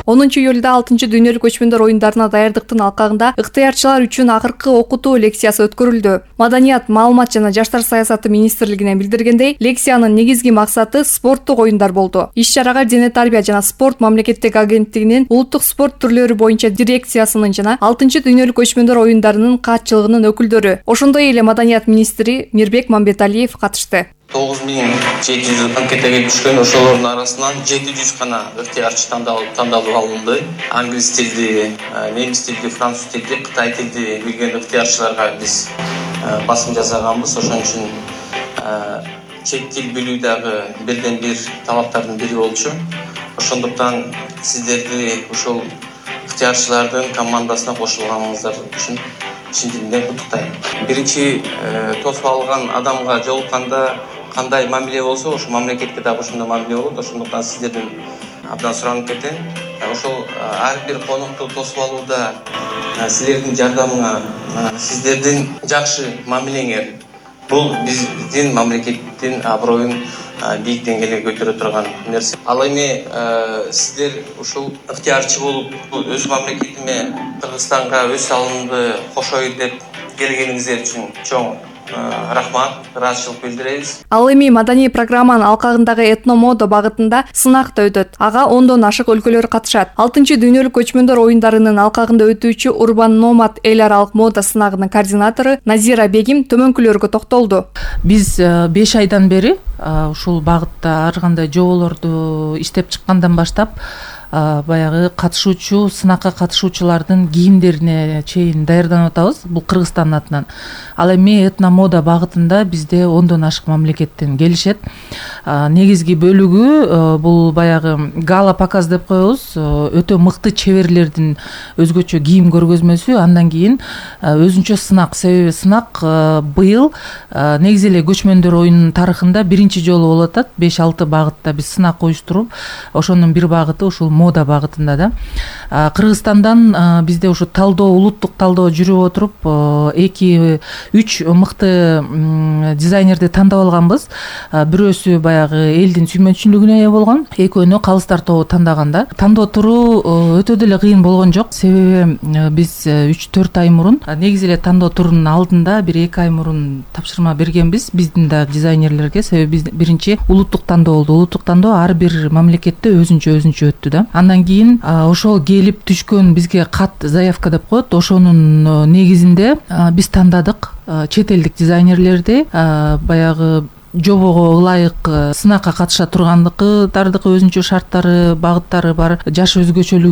10-июлда 6-дүйнөлүк көчмөндөр оюндарына даярдыктын алкагында ыктыярчылар үчүн акыркы окутуу лекциясы өткөрүлдү. Маданият, маалымат жана жаштар саясаты министрлигинен билдиргендей, лекциянын негизги максаты спорттук оюндар болду. Иш-чарага Дене тарбия жана спорт мамлекеттик агенттигинин улуттук спорт түрлөрү боюнча дирекциясынын жана 6-дүйнөлүк көчмөндөр оюндарынын катчылыгынын өкүлдөрү, ошондой эле Маданият министри Мирбек Мамбеталиев катышты. 9700 анкета келип түшкөн, ошолордун арасынан 700 гана ыктыярчы тандалып алынды. Англис тилди, немис тилди, француз тилди, кытай тилди билген ыктыярчыларга биз басым жасаганбыз. Ошон үчүн чет тил билүү дагы бирден бир талаптардын бири болчу. Ошондуктан сиздерди ушул ыктыярчылардын командасына кошулганыңыздар үчүн чын дилимден куттуктайм. Биринчи тосуп алган адамга жолукканда кандай мамиле болсо, ошол мамлекетке дагы ошондой мамиле болот. Ошондуктан сиздерден абдан суранып кетем. Ошол ар бир конокту тосуп алууда силердин жардамыңа, сиздердин жакшы мамилеңер бул биздин мамлекеттин аброюн бийик деңгээлге көтөрө турган нерсе. Ал эми сиздер ушул ыктыярчы болуп, өз мамлекетиме, Кыргызстанга өз салымымды кошоюн деп келгениңиздер үчүн чоң рахмат, ыраазычылык билдиребиз. Ал эми маданий программанын алкагындагы этно-мода багытында сынак да өтөт. Ага 10дон ашык өлкөлөр катышат. 6-дүйнөлүк көчмөндөр оюндарынын алкагында өтүүчү Урбан Номад эл аралык мода сынагынын координатору Назира Бегим төмөнкүлөргө токтолду. Биз 5 айдан бери ушул багытта ар кандай жоболорду иштеп чыккандан баштап баягы катышуучу, сынакка катышуучулардын кийимдерине чейин даярданып атабыз. Бул Кыргызстандын атынан. Ал эми этно-мода багытында бизде 10дон ашык мамлекеттен келишет. Негизги бөлүгү бул баягы гала показ деп коебуз. Өтө мыкты чеберлердин өзгөчө кийим көргөзмөсү, андан кийин өзүнчө сынак. Себеби сынак быйыл негизи эле көчмөндөр оюнунун тарыхында биринчи жолу болуп атат. 5-6 багытта биз сынак уюштуруп, ошонун бир багыты ушул мода багытында да. Кыргызстандан бизде ушу талдоо, улуттук талдоо жүрүп отуруп, 2-3 мыкты дизайнерди тандап алганбыз. Бирөөсү баягы элдин сүймөнчүлүгүнө ээ болгон, экөөнү Калыс тобу тандаганда. Тандоо туруу өтө деле кыйын болгон жок. Себеби биз 3-4 ай мурун, негизи эле тандоо турунун алдында 1-2 ай мурун тапшырма бергенбиз биздин да дизайнерлерге. Себеби биз биринчи улуттук тандоо болду. Улуттук тандоо ар бир мамлекетте өзүнчө өттү да. Андан кийин ошол келип түшкөн бизге кат, заявка деп коет. Ошонун негизинде биз тандадык чет элдик дизайнерлерди, баягы жобого ылайык сынакка катыша тургандыкы, өзүнчө шарттары, багыттары бар, жаш өзгөчөлүгүн